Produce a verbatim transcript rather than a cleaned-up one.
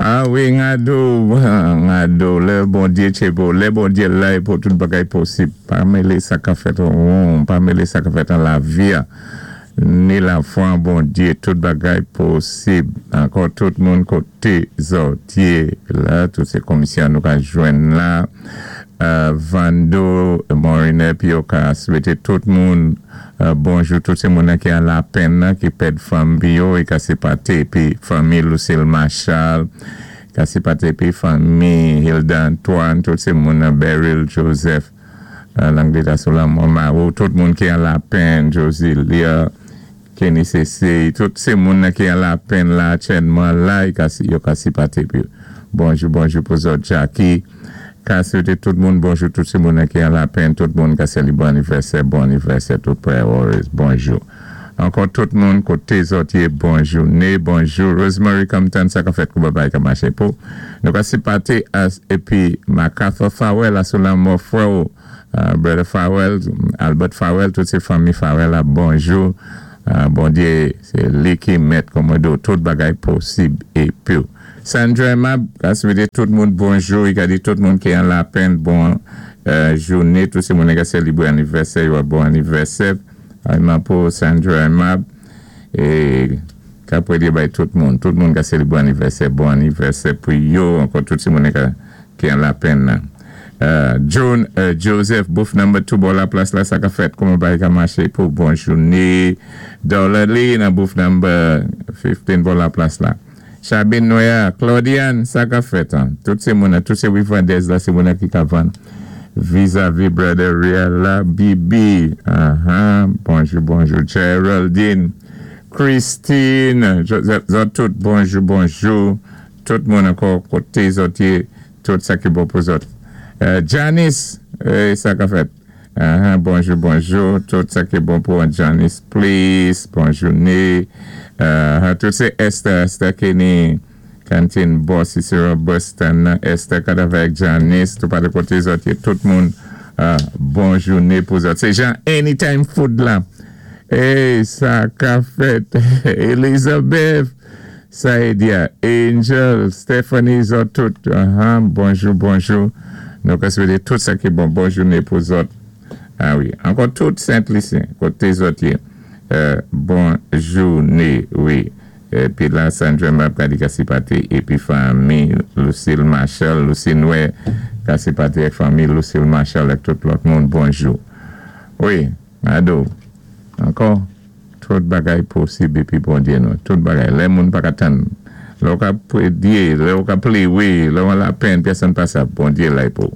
Ah wi, Ngado, Ngado, lè Bondyé tchébo, lè Bondyé la pou tout bagay posib. Pa mélé sa ka fèt an won, pa mélé sa ka fèt an lavi-a. Ni lafwa an Bondyé, tout bagay posib. Ankò tout moun koté zòt yé la, tout sé komisyon nou ka jwenn la. Euh, Vando, Morine, pi yo ka swété tout moun euh, bonjou, tout sé moun ki an lapenn nan, ki pèd fanmi pi yo, é ka sipaté pi fanmi Lucille Marshall, ka sipaté pi fanmi Hilda Antoine, tout sé moun Beryl Joseph, euh, Langlita Solomon Maro, tout moun ki an lapenn, Josie Lia, Kenny C C, tout sé moun ki an lapenn la, Chenman la, yo ka, yo ka sipaté pi. Bonjou, bonjou pou zòt Jackie. Ka swété tout moun bonjou, tout sé moun ki an lapenn, tout moun ka sélibwé anivèsè, bon anivèsè, tout prayer warriors, bonjou. Ankò tout moun koté zòt yé, bonjou, né, bonjou, Rosemary Compton, sa ka fèt kou babay ka maché pou. Nou ka sipaté as, épi MacArthur Farwell, asou lanmò frè ou, uh, Brother Farwell, Albert Farwell, tout sé fanmi Farwell la, bonjou. Uh, Bondyé, sé li ki mèt kòmwado, tout bagay posib épi. Sandra Mab, ka swété tout moun bonjou, i ka di tout moun ki an lapenn, bon euh, jouné, tout sé moun ka sélibwé anivèsè, yo bon anivèsè. Ayman pou Sandra Mab, é ka pwédyé bay tout moun, tout moun ka sélibwé anivèsè, bon anivèsè pou yo, ankò tout sé moun ka, ki an lapenn nan. Uh, John uh, Joseph, booth number two, bò la plas la, sa ka fèt, kouman bagay ka maché pou bon jouné. Dollar Lee nan booth number fifteen, bò la plas la. Chabine Noya, Claudiane, sa ka fèt, an. Tout sé moun, tout sé Wivandez la, sé moun ki ka vann. Vis-à-vis Brother Real la, Bibi, uh-huh. Bonjou, bonjou, Geraldine, Christine, zòt tout, bonjou, bonjou, tout moun ankò koté zòt yé, tout sa ki bon pou zòt. Euh, Janice, eh, sa ka fèt. Uh-huh, bonjou, bonjou, tout sa ki bon pou Janice, please, bonjou, né. Uh, tout sé Esther, Esther Kenny, Kantin Boss, isi Boston, Esther kat avèk Janice, tout pa de koté zòt yé, tout moun, uh, bonjou, né pou zòt. Sé jan Anytime Food la. Hey, sa ka fèt. Elizabeth, Saïdia, Angel, Stephanie, zòt tout. Uh-huh, bonjou, bonjou. Nou ka swété tout sa ki bon, bon jouné pou zòt. Ah wi, ankò tout Saint-Lucien, koté zòt yé. Euh, bon jouné, wi. Épi la, Sandra Mab ka di ka sipaté, épi fanmi Lucille Marshall, Lucie Noué, ka sipaté ak fanmi Lucille Marshall ak tout lòt moun, bonjou. Wi, ado, ankò, tout bagay posib épi Bondyé nou, tout bagay, lè moun pa ka tann, lè ou ka pwédyé, lè ou ka pléwé, lè ou an lapenn, pèsonn pa sa, Bondyé la pou.